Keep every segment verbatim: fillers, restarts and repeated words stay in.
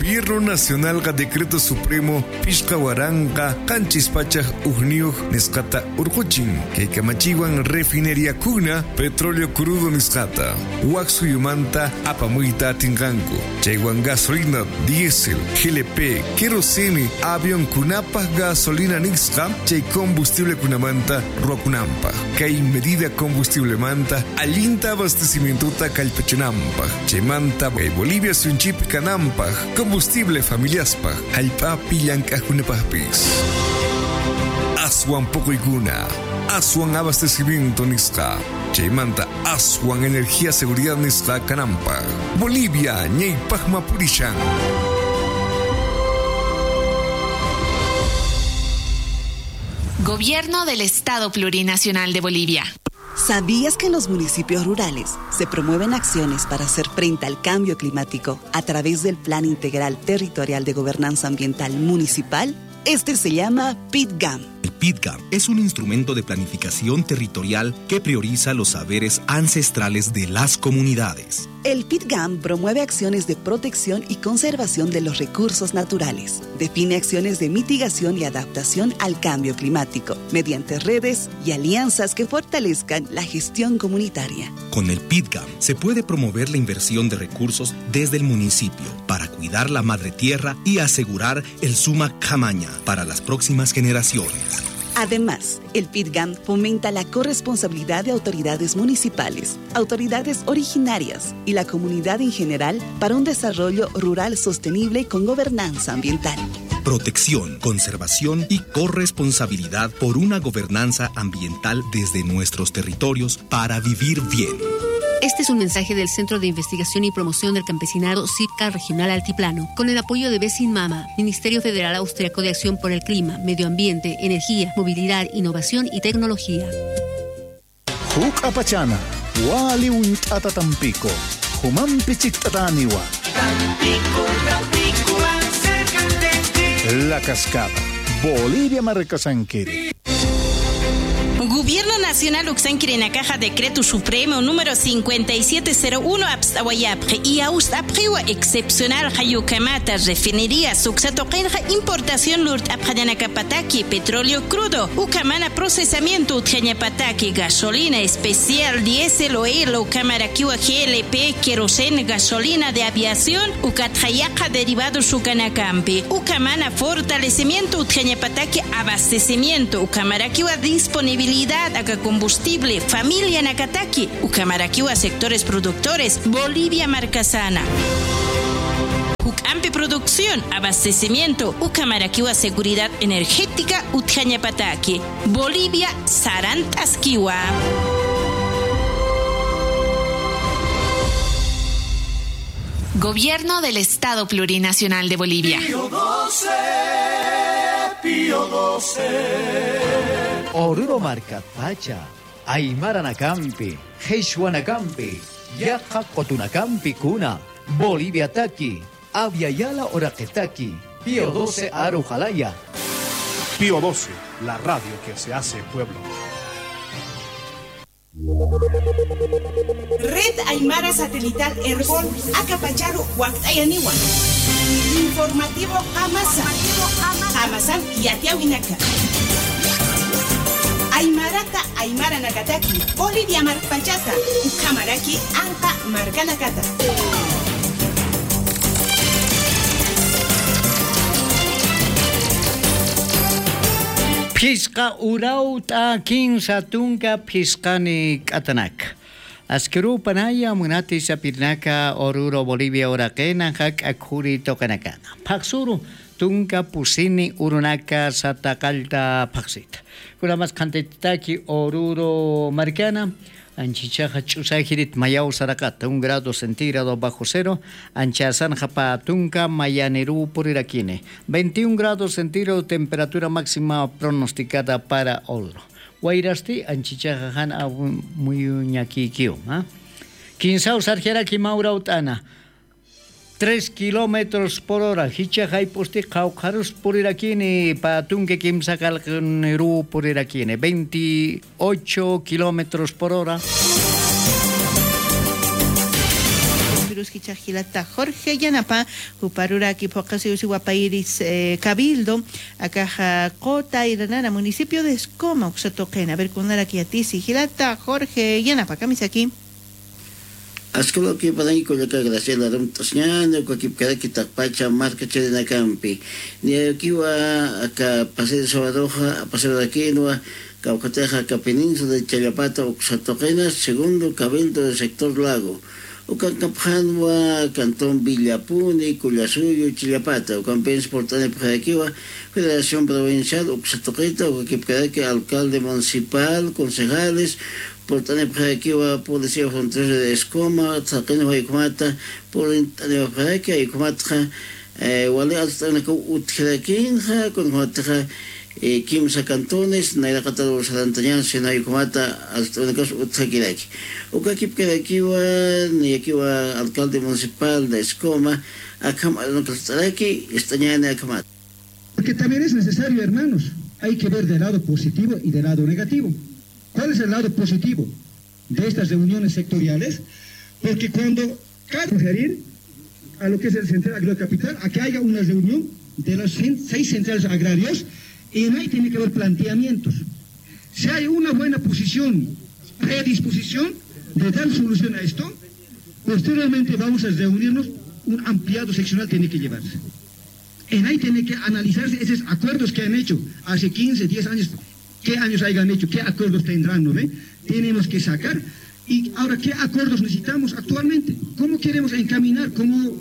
Gobierno Nacionalqa Decreto Supremo phisqa waranqa qanchis pachak ujniyuq nisqata urquchin. Kay kamachiwan refinería kuna petróleo crudo nisqata wak suyumanta apamuyta atinqanku. Chaywan gasolina, diésel, G L P, querosene, avionkunapaq gasolina nisqa chay combustiblekunamanta ruwakunanpaq. Kay medida combustiblemanta allinta abastecimientota kallpachanampaq, chaymanta kay Bolivia suyunchipi kanampaq, combustible familiaspaq, jallp'api llank'aqkunapaqpis. Aswan puquykuna, aswan abastecimiento nisqa, chaymanta aswan energía seguridad nisqa kanampaq. Bolivia ñawpaqma purishan. Gobierno del Estado Plurinacional de Bolivia. ¿Sabías que en los municipios rurales se promueven acciones para hacer frente al cambio climático a través del Plan Integral Territorial de Gobernanza Ambiental Municipal? Este se llama PITGAM. El PITGAM es un instrumento de planificación territorial que prioriza los saberes ancestrales de las comunidades. El PITGAM promueve acciones de protección y conservación de los recursos naturales. Define acciones de mitigación y adaptación al cambio climático mediante redes y alianzas que fortalezcan la gestión comunitaria. Con el PITGAM se puede promover la inversión de recursos desde el municipio para cuidar la madre tierra y asegurar el Sumak Khamaña para las próximas generaciones. Además, el PITGAM fomenta la corresponsabilidad de autoridades municipales, autoridades originarias y la comunidad en general para un desarrollo rural sostenible con gobernanza ambiental. Protección, conservación y corresponsabilidad por una gobernanza ambiental desde nuestros territorios para vivir bien. Este es un mensaje del Centro de Investigación y Promoción del Campesinado, CIPCA Regional Altiplano, con el apoyo de Besin Mama, Ministerio Federal Austriaco de Acción por el Clima, Medio Ambiente, Energía, Movilidad, Innovación y Tecnología. Juk'apachana, wali uñt'ata Tampico, jumampi chikt'atäniwa. Tampico, Tampico, más cerca de ti. La Cascada, Bolivia markasankiri. Gobierno Nacional uksankirinakaxa Decreto Supremo número cincuenta y siete cero uno apst'awayapxi, y awst'apxiwa excepcional jayukamata refinerías uksa tuqinxa importación lurt'apxañanakapataki petróleo crudo, ukhamana procesamiento utjañapataki gasolina especial, diésel, oil, ukhamarakiwa G L P, queroseno, gasolina de aviación, ukatxa yaqha derivados ukanakampi, ukhamana fortalecimiento utjañapataki abastecimiento, ukhamarakiwa disponibilidad aka combustible familianakataki, ukhamarakiwa sectores productores Bolivia markasana. Juk'ampi producción, abastecimiento, ukhamarakiwa seguridad energética utjañapataki. Bolivia sarant'askiwa. Gobierno del Estado Plurinacional de Bolivia. Pío doce, Pío doce. Oruro markatpacha, aymaranakampi, qhichwanakampi, yaqha qutunakampi kuna, Boliviataki, Abya Yala uraqitaki, Pío doce aru jalaya. Pío doce, la radio que se hace pueblo. Red Aymara Satelital Erbol, akapacharu wakt'ayaniwa. Informativo Qamasa. Qamasan yatiyawinaka. Aymarata aymaranakataki, Bolivia markpachata, ukhamaraki anqa markanakata. Phisqa urawt'a kinsa tunka phisqani k'atanak. Askirupanaya munati sapirinaka Oruro Bolivia uraqina jak'a khuri tuqinakana. Phaqsuru tunka pusini urunaka sata qallta phaqsita. Kunamas qhantitaki Oruro markana, anchichaxa ch'usajirit mayaw saraqata, un grado centígrado bajo cero, anchasanxa pä tunka mayaniruw purirakini. Veintiún grados centígrado temperatura máxima pronosticada para Oruro. Wayrasti anchichaxa jan amuyuñakikiw, ¿ah? Kinsaw sarjaraki mä urawt'ana. Tres kilómetros por hora, jichha jayp'usti qhawqharus purirakini, pä tunka kimsa qallqaniruw purirakini, veintiocho kilómetros por hora. Pero Jichhax jilata Jorge Yanapa, juparuraki phuqasiw siwa payris, eh, Cabildo, akaxa Qota Iranana, municipio de Escoma, uksa tuqina. A ver, kunarak yatisi, jilata Jorge Yanapa, kamisaki. Askhawlaki panañi kullaka Graciela, arumt'asiñäni, ukakipkaraki taqpacha marka chirinakampi. Niyakiwa aka pasir sabadoxa, pasirakinwa, kawkatixa aka península de Challapata uksa tuqina, segundo cabildo del sector Lago. Ukankapxänwa cantón Villapuni, Collasuyu, Challapata. Ukampins purt'anipxarakiwa Federación Provincial uksa tuqita, ukakipkaraki alcalde municipal, concejales, purt'anipxarakiwa Policía Fronteriza de Escoma, thaqinwa ukhama purt'anipxaraki, ukhamatxa, eh, wali arst'anakaw utjarakinxa, kunjamatixa, eh, kimsa cantones, nayraqatar sarantañan, sino ukhamat arst'anakaw utjakiraki. Ukakipkarakiwa, niyakiwa alcalde municipal de Escoma, akham arunaka arst'araki, ist'añäni akhamat. Porque también es necesario, hermanos, hay que ver del lado positivo y del lado negativo. ¿Cuál es el lado positivo de estas reuniones sectoriales? Porque cuando cabe sugerir a lo que es el Central Agrocapital a que haya una reunión de las cen- seis centrales agrarios y en ahí tiene que haber planteamientos. Si hay una buena posición, predisposición de dar solución a esto, posteriormente vamos a reunirnos, un ampliado seccional tiene que llevarse. En ahí tiene que analizarse esos acuerdos que han hecho hace quince, diez años, qué años hayan hecho, qué acuerdos tendrán, ¿no ve? Tenemos que sacar. Y ahora, ¿qué acuerdos necesitamos actualmente? ¿Cómo queremos encaminar cómo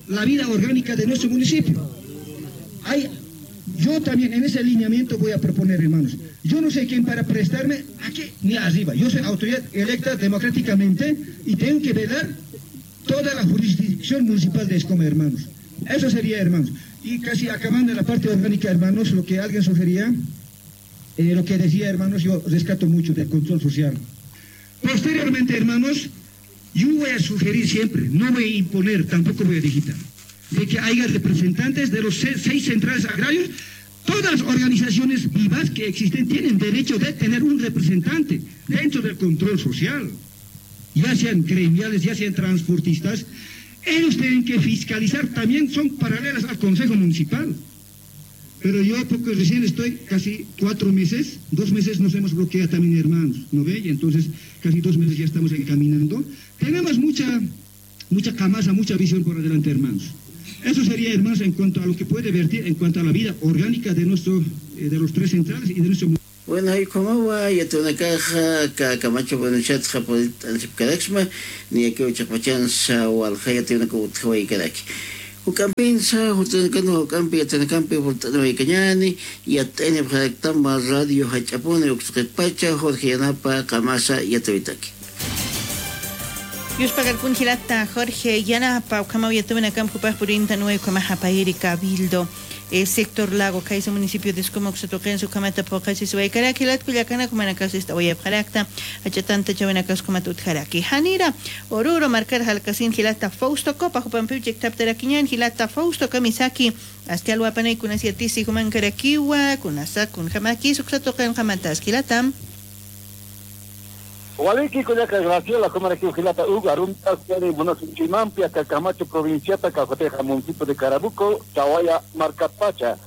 la vida orgánica de nuestro municipio? Hay, yo también en ese lineamiento voy a proponer, hermanos. Yo no sé quién para prestarme aquí ni arriba. Yo soy autoridad electa democráticamente y tengo que velar toda la jurisdicción municipal de Escoma, hermanos. Eso sería, hermanos. Y casi acabando la parte orgánica, hermanos, lo que alguien sugería, eh, lo que decía, hermanos, yo rescato mucho del control social. Posteriormente, hermanos, yo voy a sugerir siempre, no voy a imponer, tampoco voy a digitar, de que haya representantes de los se- seis centrales agrarios. Todas las organizaciones vivas que existen tienen derecho de tener un representante dentro del control social, ya sean gremiales, ya sean transportistas. Ellos tienen que fiscalizar, también son paralelas al Consejo Municipal. Pero yo, porque recién estoy casi cuatro meses, dos meses nos hemos bloqueado también, hermanos, ¿no ve? Y entonces, casi dos meses ya estamos encaminando. Tenemos mucha, mucha camasa, mucha visión por adelante, hermanos. Eso sería, hermanos, en cuanto a lo que puede vertir en cuanto a la vida orgánica de nuestro, eh, de los tres centrales y de nuestro Bueno, jay ukhamawa yatiyunakaxa, ka Camacho provinciatxa purt'anisipkaraksma, niyakiw chiqpachansa walja yatiyunakaw utjawaykaraki. Juk'ampinsa, jutanakanwa juk'ampi yatiyunakampi purt'aniwaykañäni, yat'ayanipxaraktama radio jach'apuni uksa tuqitpacha, Jorge Yanapa, qamasa yatiytaki. Yuspakarkun jilata Jorge Yanapa, ukhamaw yatiyunakamp jupax purintanwa ukhamaxa payri Cabildo, eh, sector Lago, khaysa municipio de Escoma uksa tuqinsa ukhamata phuqasisiwaykaraki, jilat kullakanak, jumanakax ist'awayapxarakta, jach'a tantachawinakas ukhamat utjaraki. Janira Oruro markar jalkasin jilata Fausto Copa, jupampiw chiktaptarakiñän, jilata Fausto, kamisaki, aski alwapanay kunas yatisi jumankarakiwa, kunasa kunjamakis uksa tuqinxa matas, jilata. Waliki kullaka Graciela, jumarakiw jilata Hugo, arumt'asiñäni munasinchimampi aka Camacho provinciata, kawkatixa municipio de Carabuco, Chawaya markatpacha.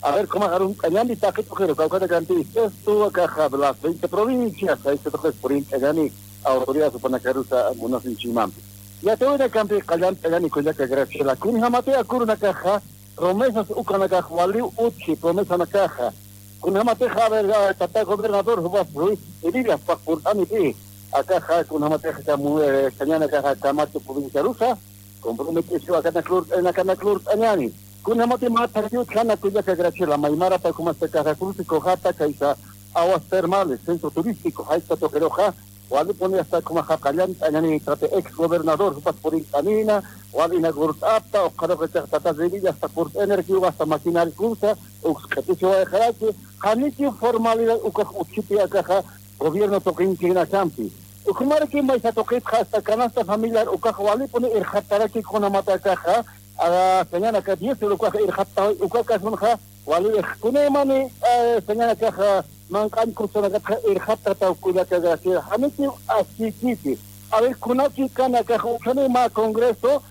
A ver, kumax arumt'añäni taqi tuqiru, kawkatakampi sexto, akaxa de las veinte provincias, sexto tuqis purint'añäni autoridades jupanakarusa munasinchimampi. Yatiyunakampi qallant'añäni kullaka Graciela, kunjamatiw aka urunakaxa, promesas ukanakax waliw utji, promesanakaxa. Kunjamatixa, a ver, a, tata gobernador, jupas Ruiz Heredia, jupax purt'anipï. Akaxa, kunjamatixa, kamu, eh, sañanakaxa, Camacho provinciarusa, comprometesiw akanak lurt'añani, akanak lurt'añani. Kunjamati mä thakhi utjana kullaka Graciela, maymarapa ukhamaxa, Cruce Cojata, kaysa aguas termales, centro turístico, jaysa tuqiruxa, walipuni hasta ukhamaxa qallant'añani, tata ex gobernador, jupas purint'anïna, wal inaugurt'apxta, ukxaruxa tata Revilla hasta purt'anirakiwa hasta maquinariakunsa, uks q'itisiwayxaraki, janikiw formalidad ukax utjiti akaxa, gobierno tuqinchinakampi. Ukhamaraki maysa tuqitxa hasta canasta familiar ukax walipuni irxattaraki kunjamat akaxa, a, sañanaka diésel ukax irxattaway, uka casunxa, waliwix kunaymani, a, sañanakaxa, manq'añ crucenakatxa irxattataw kullaka Graciela, janikiw askïkiti. A ver, kunaki kanakax ukhani mä congreso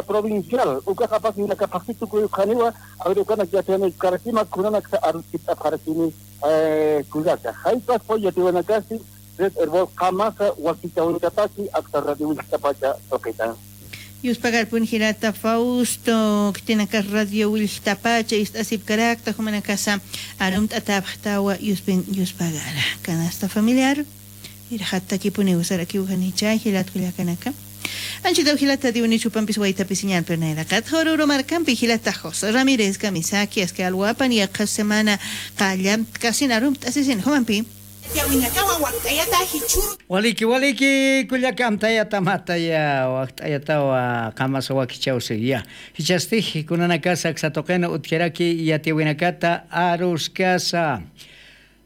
provincial ukax apasinaka phaxsi tukuy ukhaniwa. A ver, ukanak yatiyanakarakima kunanaksa aruskit'apxarakini. Kullaka jaypas puy yatiwanakasi red herbol qamasa wakichawinakataki akta radio wilkitapacha tuqita. Yuspagarpun jilata Fausto, khitinaka radio wilkitapacha ist'asipkarakta jumanakasa arumt'atapxtawa yuspin yuspagara. Canasta familiar. Irxattakipuniw sarakiw janicha jilat kullakanaka. Anchitaw jilata diwni chupampis waytapi señal pernayrakat joruru markampi jilata José Ramírez kamisaki aski alwapan yaqha semana qallamtkasin arumt'asisin jumampi. Waliki waliki kullaka amtayata mataya wakt'ayatawa qamasa wakichawsi ya. Jichhastix kunanakasa aksatuqina utjaraki yatiwinakata aruskasa.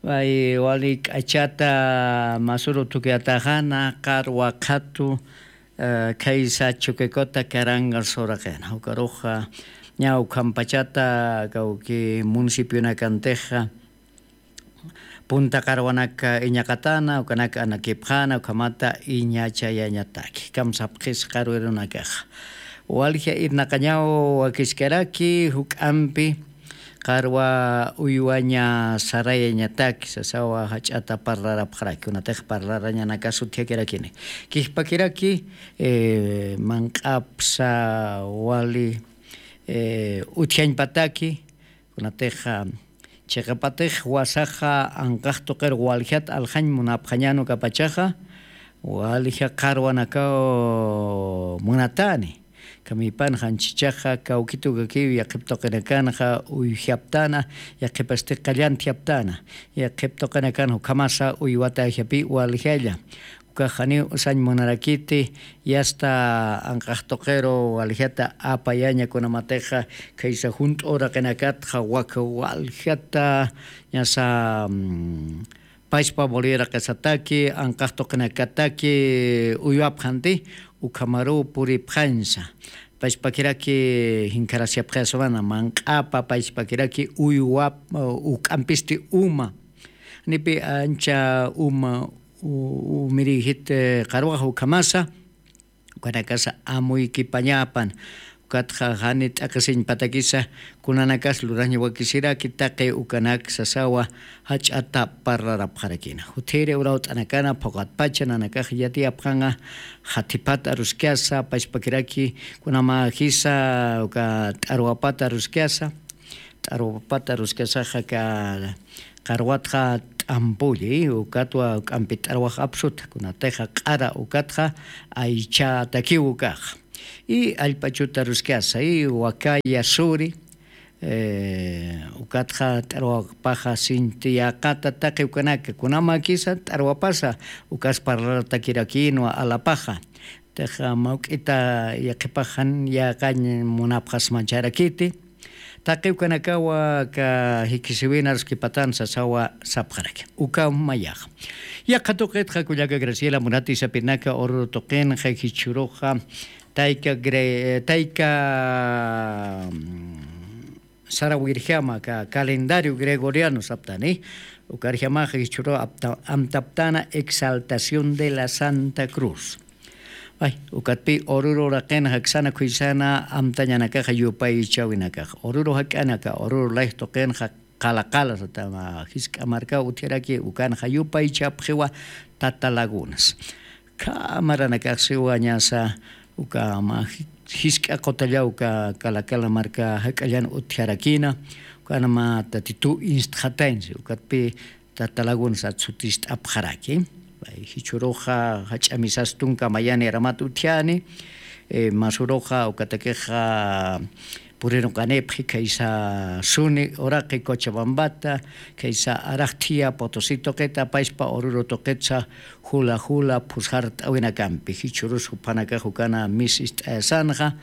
Wali k'achata masuru tukuyataxana qarwa qhatu khaysa chuquikuta karangas uraqina ukaruxa ña ukhampachata kawki municipionakantixa punta qarwanaka iñaqatana ukanaka anakipxana ukhamata iñachayañataki kamsapxis qarwirunakaxa. Walja irnaqañaw wakiskaraki juk'ampi qarwa uywaña sarayañataki sasawa jach'ata parlarapxaraki kunatix parlarañanakas utjakirakini. Kijpakiraki manq'apsa wali utjañpataki kunatix chiqapatix wasaxa anqax tuqir waljat aljañ munapxañan ukapachaxa walja qarwanakaw munatani. Kamipan janchichaxa kawkitukakiw yaqhip tuqinakanxa uyjaptana yaqhipasti qallantjaptana yaqhip tuqinakanxa ukhamasa uywatajapi waljalla. Ukax janiw usañ munarakiti yasta anqax tuqiru waljata apayaña kunamatixa khaysa junt'u uraqinakatxa waka waljata ñasa pachpa boliraqisataki anqax tuqinakataki uywapxanti ukhamaruw puripxañsa. Pachpakiraki jinkharasipxaswana manq'apa pachpakiraki uywap uk'ampisti uma nipi ancha uma umiriyjit qarwax ukhamasa ukanakasa amuykipañapan. Ukatxa jani t'aqisiñpatakisa kunanakas luraña wakisiraki taqi ukanak sasawa jach'ata parlarapxarakina juthiri urawt'anakana phuqatpacha nanakax yatiyapxanqa. Jathipat aruskasa pachpakiraki kunama jisa uka t'arwapat aruskasa t'arwapat aruskasaxa ka qarwatxa t'ampulli ukatwa k'ampi t'arwax apsuta kunatixa q'ara ukatxa aychatakiw ukaxa. Y allp'achuta aruskasa y wakaya suri ukatxa t'arwapaxa sinti yaqata taqi ukanaka kunamakisa t'arwapasa ukas parlaratakirakinwa alapaxa. Tixa mawk'ita yaqhipaxan yaqañ munapxasmancharakiti. Taqi ukanakawa ka jikisiwin aruskipatan sasawa sapxaraki ukaw mayaxa. Yaqha tuqitxa kullaka graciela munati sapinaka ururu tuqinxa jichhuruxa tayka tayka sarawirjama ka calendario gregoriano saptani. Ukarjamaxa jichhuru amtaptana exaltación de la santa cruz. Ukatpi ururu raqin jaksana khuysana amtañanakaxa yupaychawinakaxa ururu jak'anaka ururu layj tuqinxa qala qala satama jisk'a markaw utjaraki ukanxa yupaychapxiwa. Tata lagunas khamaranakaxsiwa ñasa uka mä jisk'a qutallaw uka kalakala marka jak'allan utjarakina. Ukanama tatitu instxatañsi ukatpi tatalagunsat sutist'apxaraki. Jichhuruxa jach'a misas tunka mayani aramat utjani. Masuruxa ukatakixa puriruqanipxi khaysa suni uraqi cochabambata khaysa araqthiya potosi tuqita apaspa ururu tuqitsa jula jula phusart'awinakampi jichhurus juphanakax ukana mis ist'ayasanxa.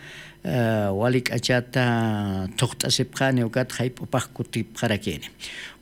eh, wali k'achata thuqt'asipxani, ukat jayp'upax kutipxarakini.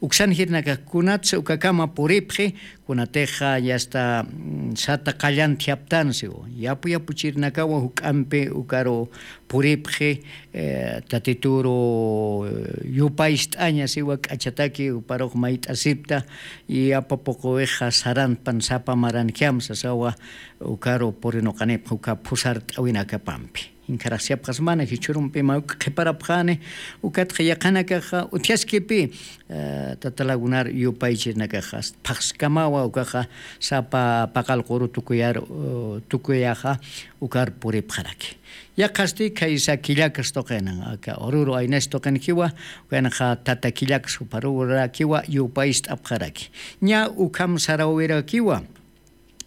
Uksan jirnakax kunatsa ukakama puripxi, kunatixa ya está, mm, sata qallan thiyaptan siwa. Yapu yapuchirnakawa juk'ampi ukaru puripxi, eh, tatituru, eh, yupayst'aña siwa k'achataki, uparux mayt'asipta, y apapuquwixa sarantpan sapa marankiam sasawa, ukaru purinuqanipx uka phusart'awinakapampi. Inkharaxsiyapxasmana jichhürumpi mawk qhiparapxani, ukatxa yaqhanakaxa utjaskipi, eh, tata lagunar yupaychirnakaxa, phaxskamawa ukaxa sapa paqallquru tukuyar, eh, tukuyaxa ukar puripxaraki. Yaqhasti khaysa killakas tuqinan, aka Oruro aynas tuqinkiwa, ukanxa tata killakas juparurakiwa yupayst'apxaraki. Ña ukham sarawirakiwa,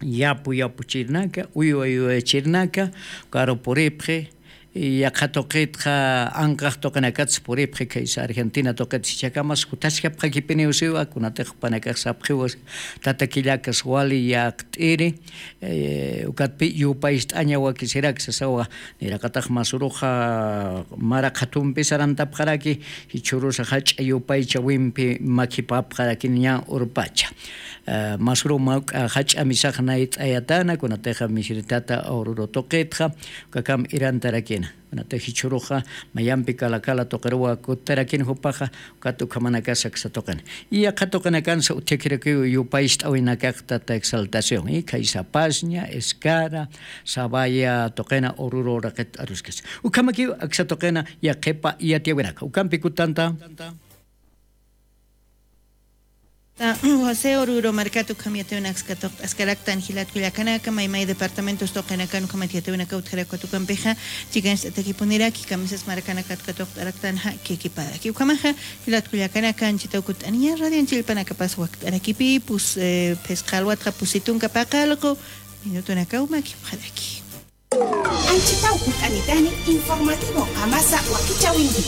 yapu yapuchirnaka, uywa uywachirnaka, ukaru puripxi, yaqha tuqitxa anqax tuqinakatsa puripxi, khaysa Argentina tuqit jichhakamas jutaskapxakipiniw siwa, kunatix jupanakax sapxiwa, tata killakas wali yaqt'iri, eh, ukatpi yupayst'aña wakisirak sasawa, niraqatax masuruxa mara qhatumpi sarantapxaraki, jichhürusa jach'a yupaychawimpi makhipapxarakini ña urpacha. Eh, masuru mawk'a jach'a misax nayt'ayatana, kunatixa misiritata Oruro tuqitxa, ukakam irantarakina. Kunatix jichhüruxa mayampi kala kala tuqiruwa kutarakini jupaxa, ukat ukhamanakasa aksa tuqina. Y yaqha tuqinakansa utjakirakiw yupayst'awinakax tata Exaltación, y khaysa Pazña, Escara, Sabaya tuqina, Oruro uraqit aruskis. Ukhamakiw aksa tuqina yaqhipa yatiyawinaka. Ukampi kutanta. Ta, José Oruro markat ukham yatiyawinaksa katuqt'askaraktan jilat kullakanaka, maymay departamentos tuqinakan ukhamat yatiyawinaka utjarak ukat ukampixa, chikancht'atakipuniraki, kamisas markanakat katuqt'araktan ja, kikiparaki. Ukhamaxa, jilat kullakanaka, anchhitaw kutt'aniya, radio anchhillpanakapas wakt'arakipï, pus, eh, phisqa alwatxa pusi tunka paqallqu minutunakaw makipxaraki. Anchhitaw kutt'anitani informativo qamasa wakichäwinki.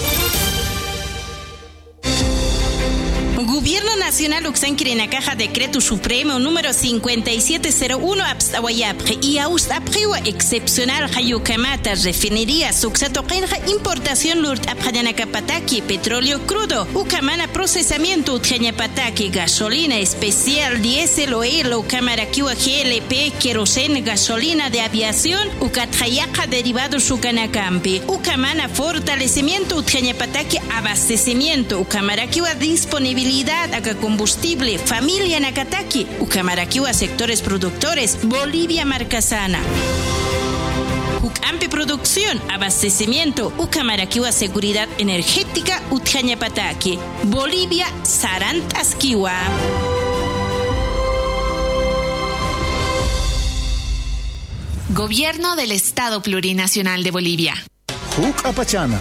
Gobierno Nacional uksankirinakaxa Decreto Supremo número cincuenta y siete cero uno apst'awayapxi, y awst'apxiwa excepcional jayukamata refinerías uksa tuqinxa importación lurt'apxañanakapataki petróleo crudo, ukhamana procesamiento utjañapataki gasolina especial, diésel, oil, ukhamarakiwa G L P, queroseno, gasolina de aviación, ukatxa yaqha derivados ukanakampi, ukhamana fortalecimiento utjañapataki abastecimiento, ukhamarakiwa disponibilidad aka combustible familianakataki, ukhamarakiwa sectores productores Bolivia markasana. Juk'ampi producción, abastecimiento, ukhamarakiwa seguridad energética utjañapataki. Bolivia sarant'askiwa. Gobierno del Estado Plurinacional de Bolivia. Juk'apachana,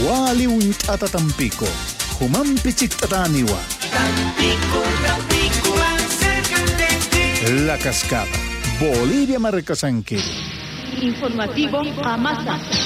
wali uñt'ata Tampico, jumampi chikt'atäniwa. Tampico, Tampico, más cerca de ti. La Cascada, Bolivia markasanki. Informativo Qamasa.